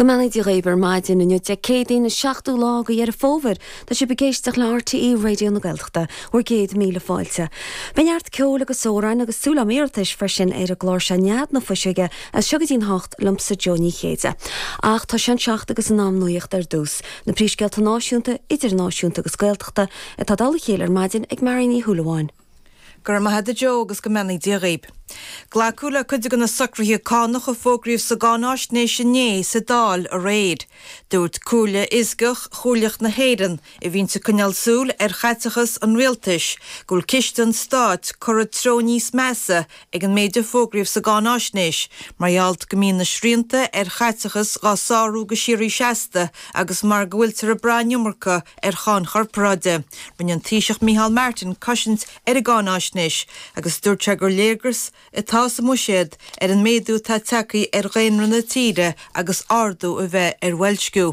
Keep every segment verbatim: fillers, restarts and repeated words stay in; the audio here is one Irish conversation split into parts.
Go mbeannaí Dia dhaoibh ar maidin inniu Dé Céadaoin an seachtú lá de Dheireadh Fómhair Tá sibh ag éisteacht le RTÉ Raidió na Gaeltachta bhur gcéad míle fáilte. Beidh neart ceoil agus amhráin agus súil am iarratais freisin ar an gclár seo Nead na Fuiseoige as seo go dtí'n hocht liomsa Joe Ní Chéide. Ach tá sé an seacht agus an am nuachta ar dtús. Na príomhscéalta náisiúnta, idirnáisiúnta agus Gaeltachta atá dul a chéile ar maidin ag Mary Ní Shúilleabháin. Gur maith a Jo agus go mbeannaí Dia dhaoibh. Glacadh le cuid de na socruithe cánach a fógraíodh sa gcáinaisnéis inné sa Dáil aréir. Dúirt Comhairle Fhioscach Chomhairleach na hÉireann a bhíonn ag coinneáil súil ar chaiteachas an rialtais go bhfuil ciste an stáit curtha treo níos measa ag an méid a fógraíodh sa gcáinaisnéis, mar gheall go mbíonn na srianta ar chaiteachas á sárú go síoraí seasta agus mar go bhfuiltear ag brath an iomarca ar cháin chorparáide. Rinne an Taoiseach Micheál Martin cosaint ar an gcáinaisnéis agus dúirt sé gur léargas atá sa mbuiséad ar an méadú atá tagtha ar dhaonra na tíre agus ardú a bheith ar bhoilsciú.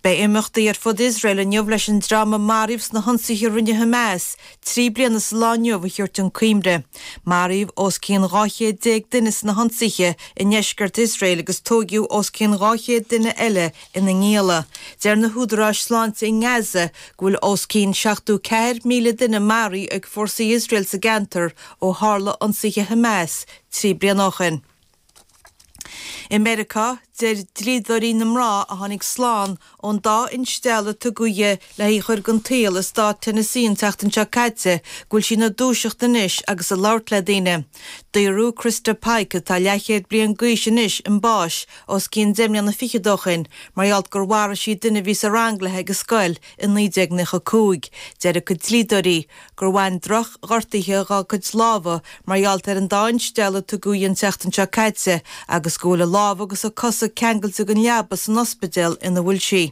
Beidh imeachtaí ar fud Iosrael inniu leis an dream a maraíodh sna hionsaithe a rinne Hamas trí bliana sa lá inniu a thabhairt chun cuimhne. Maraíodh os cionn dhá chéad déag duine sna hionsaithe i ndeisceart Iosrael agus tógadh os cionn dhá chéad duine eile ina ngialla. Deir na húdaráis sláinte i nGaza go bhfuil os cionn seachtó ceathair míle duine maraithe ag fórsaí Iosrael sa gceantar ó tharla ionsaithe Hamas trí bliana ó shin. I Meiriceá, deir dlíodóirí na mná a tháinig slán ón dá instealladh a tugadh di le hí a chur den tsaol i stát Tennessee an tseachtain seo caite go bhfuil sí ina dúiseacht anois agus ag labhairt le daoine. Daoradh Christa Pike atá leathchéad bliain d'aois anois chun báis os cionn deich mbliana fichead ó shin mar gheall gur mharaigh sí duine a bhí sa rang léi ag an scoil i naoi déag nócha cúig. Deir a cuid dlíodóirí gur bhain drochghortuithe dá cuid lámha mar gheall ar an dá instealladh a tugadh di an tseachtain seo caite agus go bhfuil a lámha agus a cosa ceangailte den leaba san ospidéal ina bhfuil sí.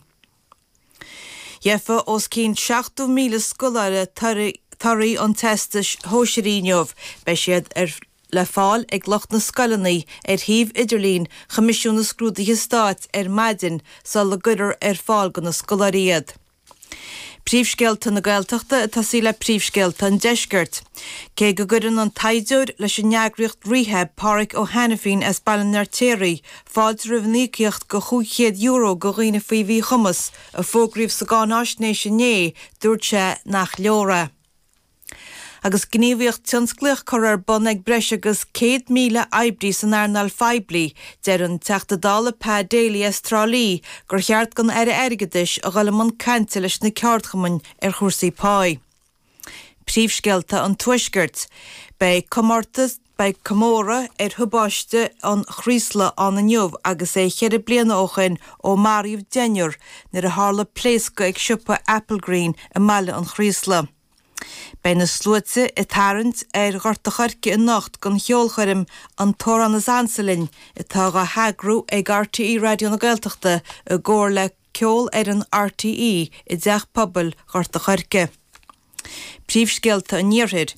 Gheofa os cionn seachtó míle scoláire torthaí an teastais shóisearaigh inniu, beidh siad ar le fáil ag lucht na scoileanna ar shuíomh idirlín Choimisiún na Scrúduithe Stáit ar maidin sula gcuirfear ar fáil do na scoláirí iad. Príomhscéalta na Gaeltachta ag tosaí le príomhscéalta an deiscirt. Cé go gcuireann an taighdeoir leis an eagraíocht Rehab Páraic Ó hAiniféin as Baile an Fheirtéaraigh fáilte roimh an íocaíocht de chúig chéad euro do dhaoine faoi mhíchumas a fógraíodh sa gcáinaisnéis inné, dúirt sé nach leor é. Agus gníomhaíocht tionsclaíoch curtha ar bun ag breis agus céad míle oibrí san earnáil phoiblí, deir an Teachta Dála Pa Daly as Trá Lí gur cheart don Aire Airgeadais a dhul i mbun cainte leis na ceardchumainn ar chúrsaí páí. Príomhscéalta an Tuaiscirt. Beidh comórtas Beidh comóradh ar thubaiste an Chraoslaigh ann inniu agus é ceithre bliana ó shin ó maraíodh deichniúr nuair a tharla pléascadh ag siopa Applegreen i mBaile an Chraoslaigh. Beidh na sluaite ag tarraingt ar Ghort an Choirce anocht don cheolchoirm An tAmhrán is Ansa Linn atá á heagrú ag RTÉ Raidió na Gaeltachta i gcomhar le Ceolfhoireann RTÉ i dTeach Pobail Ghort an Choirce. Príomhscéalta an Iarthair.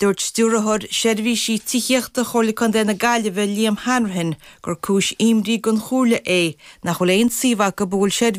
Dúirt stiúrthóir seirbhísí tithíochta Chomhairle Contae na Gaillimhe Liam Hanrahan gur cúis imní don chomhairle é nach bhfuil aon suíomh acu a bhfuil seirbhís